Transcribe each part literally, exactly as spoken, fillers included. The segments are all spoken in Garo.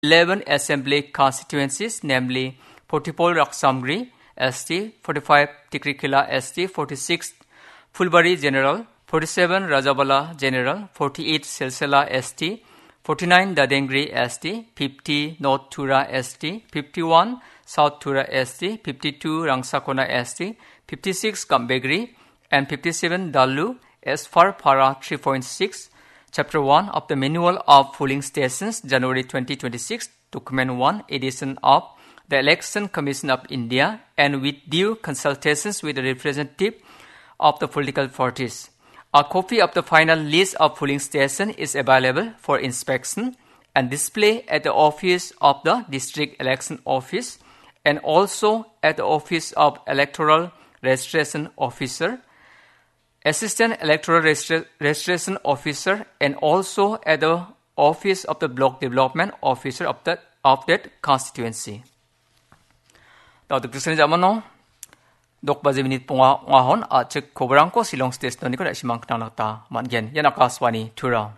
eleven assembly constituencies, namely forty-four Raksamgri S T, forty-five Tikrikila S T, forty-six Phulbari General, forty-seven Rajabala General, forty-eight Silsila S T, forty-nine Dadengri S T, fifty North Tura S T, fifty-one South Tura S T, fifty-two Rangsakona S T, fifty-six Gambegri, and fifty-seven Dalu, as per para three point six, Chapter one of the Manual of Polling Stations, January twenty twenty-six, Document one, edition of the Election Commission of India, and with due consultations with the representative of the political parties. A copy of the final list of polling station is available for inspection and display at the office of the District Election Office and also at the office of Electoral Registration Officer, Assistant Electoral Registra-, Registration Officer, and also at the office of the Block Development Officer of the, of that constituency. Dao dikdiksen jamano, dok baje minit ponga ong·ahon, a·chik koborangko Shillong State Noniko da·simang knangnakta man·gen. Ian Akashvani Tura.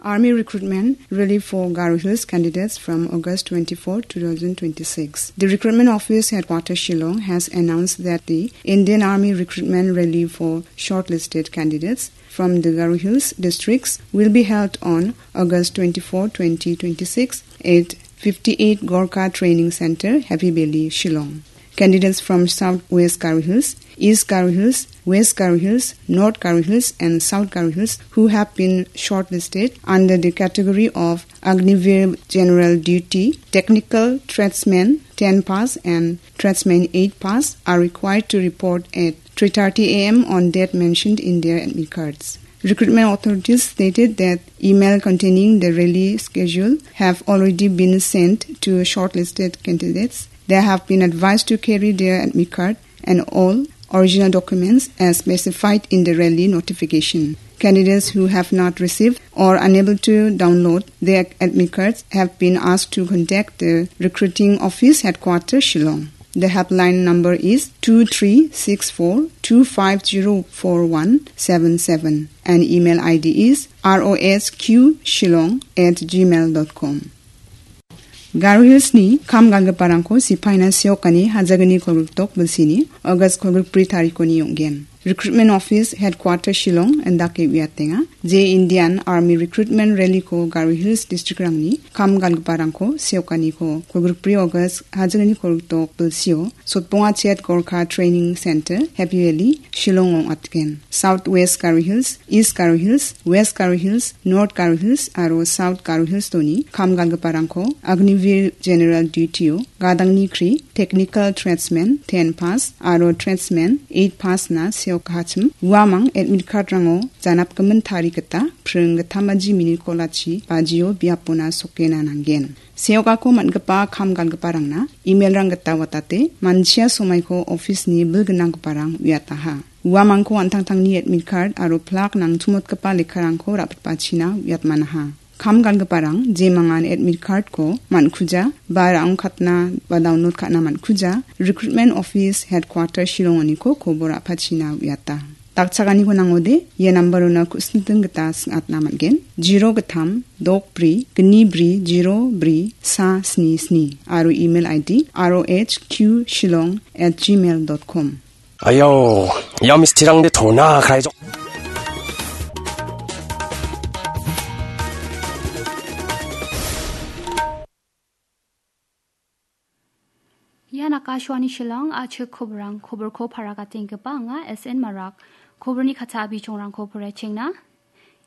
Army recruitment rally for Garo Hills candidates from August twenty-fourth, two thousand twenty-six. The recruitment office headquarters Shillong has announced that the Indian Army recruitment rally for shortlisted candidates from the Garo Hills districts will be held on August twenty-fourth, twenty twenty-six at fifty-eight Gorkha Training Center, Happy Valley, Shillong. Candidates from South West Garo Hills, East Garo Hills, West Garo Hills, North Garo Hills, and South Garo Hills who have been shortlisted under the category of Agniveer General Duty, Technical Tradesman ten pass and Tradesman eight pass are required to report at three thirty a m on date mentioned in their admit cards. Recruitment authorities stated that email containing the rally schedule have already been sent to shortlisted candidates. They have been advised to carry their admit card and all original documents as specified in the rally notification. Candidates who have not received or unable to download their admit cards have been asked to contact the recruiting office headquarters, Shillong. The helpline number is two three six four two five zero four one seven seven and email I D is R O S Q Shillong at gmail dot com. Garo Hills-ni kam galgiparangko sipaina seokani hajagni kolgrikdok bilsini August kolgrikbri tarikoni ong·gen. Recruitment Office Headquarter Shillong indake uiatenga, je Indian Army Recruitment Rally-ko Garo Hills district-rangni kam galgiparangko seokaniko kolgrikbri August hajagni kolgrikdok bilsio Sotbonga Chet Gorkha Training Center, Happy Valley, Shillong ong·atgen. South West Garo Hills, East Garo Hills, West Garo Hills, North Garo Hills aro South Garo Hills-oni kam galgiparangko Agniveer General Duty-o gadangni kri, Technical Tradesman ten pass aro Tradesman eight pass-na seokachim uamang admit card-rango janapgimin tarik gita pring gitamaji minit kolachi bajio biapona sokena nanggen. Seokako man·gipa kam galgiparangna email-rang gita watate, manchia somaiko office-ni bilgnanggiparang uiataha. Uamangko an·tangtangni admit card aro plak nangtumotgipa lekkarangko ra·pitbachina uiatmanaha. Kam galgiparang jemangan admit card-ko man·kuja ba ra·ongkatna ba download ka·na man·kuja, Recruitment Office Headquarter Shillong-oniko kobor a·pachina uiata. Dakchaganiko nangode, ia nambarona ku·sinting gita sing·atna man·gen. Zero gittam, dok bri, gni bri, zero bri, sa sni sni. Aro email I D, R O H Q Shillong at gmail dot com. Ayo, ia mistirangde tona kraijok. Ian Akashvani Shillong, a·chik koborang, koborko paragatengipa anga S N Marak. Koborni katcha bichongrangko poraichengna.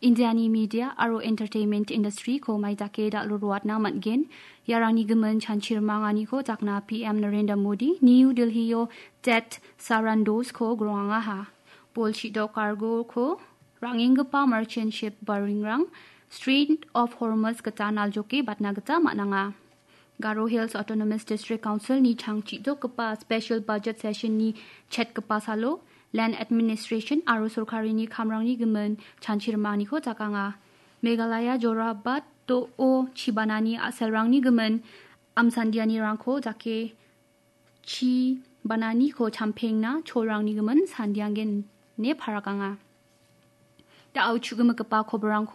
Indiani media aro entertainment industry-ko maidake dal·o roatna man·gen. Iarangni gimin chanchimanganiko jakna P M Narendra Modi, New Delhi-o Tet Sarandos-ko grongangaha. Bolchi·dok cargo-ko ra·ngenggipa merchant ship baringrang Strait of Hormuz gita naljoke batna gita man·anga. Garo Hills Autonomous District Council-ni changchidokgipa special budget session-ni chetgipa salo, land administration aro sorkarini kamrangni gimin chanchimanganiko jakanga. Meghalaya Jorabat do·o chibanani a·selrangni gimin amsandianirangko jake chibananiko champengna cholrangni gimin sandiangen ine parakanga. Da·o chu·gimigipa koborangko